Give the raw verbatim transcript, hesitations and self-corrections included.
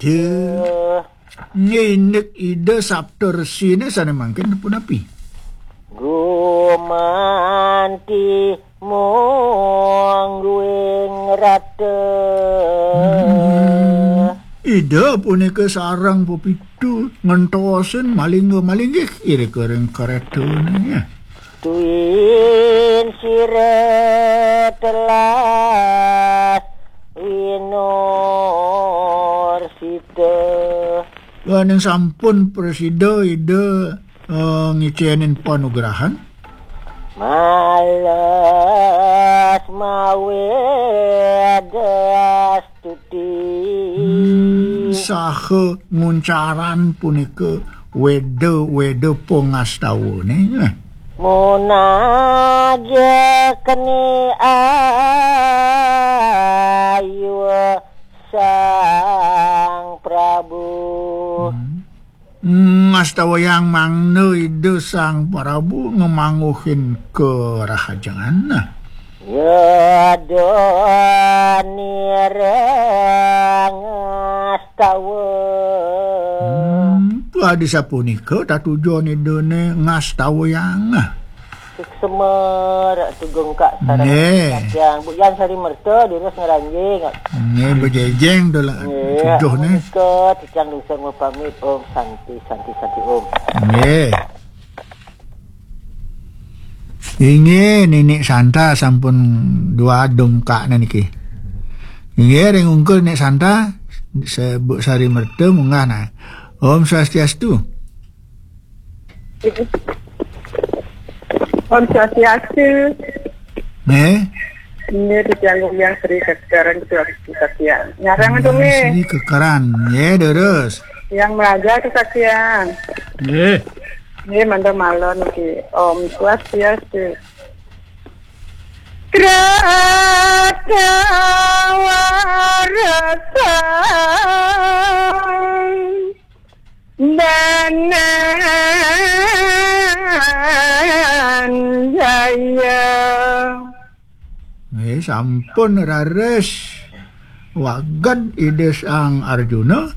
Ida. Nginik Ida Sapta Resine sane mangkin punapi? Gumanti mungguing rata. Hmm. Ida punika sareng pepitu ngentosin malingga-malinggih irika ring karetane. Tuin sira telas winursita. Ning sampun prasida Ida, eh, ngicenin panugrahan. Malas maweda astuti. Hmm, saha nguncaran punika weda-weda pangastawane. Munagya keni ayu Sang Prabu. Hmm. Ngastawayang mangda Ida Sang Prabu ngamangguhin karahajengan. Yada nira ngastawa. Hmm, adi sapunika tatujon Idane ngastawayang. Suksma, Ratu Gungkak sareng Nggih. Kacang. Bu Yan Sari Merta, durus ngranjing. Nggih, bejejeng to lah. Nggih, tujuh nih. Menika titiang dungsur mapamit. Om Santi, Santi, Santi, Om. Nggih. Inggih, Ninik Santa sampun dua dongkakne niki. Inggih, ring ungkur Nik Santa, se-, Bu Sari Merta munggah nah. Om Swastiastu. Om Swastiastu. Nggih. Ini titiang Guyang Sri Kekeran Sri Satya. Nyarang itu nggih. Sri Kekeran. Nggih, terus. Yang Melaja itu Satya. Nggih. Nggih, mantap malon niki. Om Swastiastu. Kratawarsa. Dananjaya. Nggih, sampun raris waged Ida Sang Arjuna.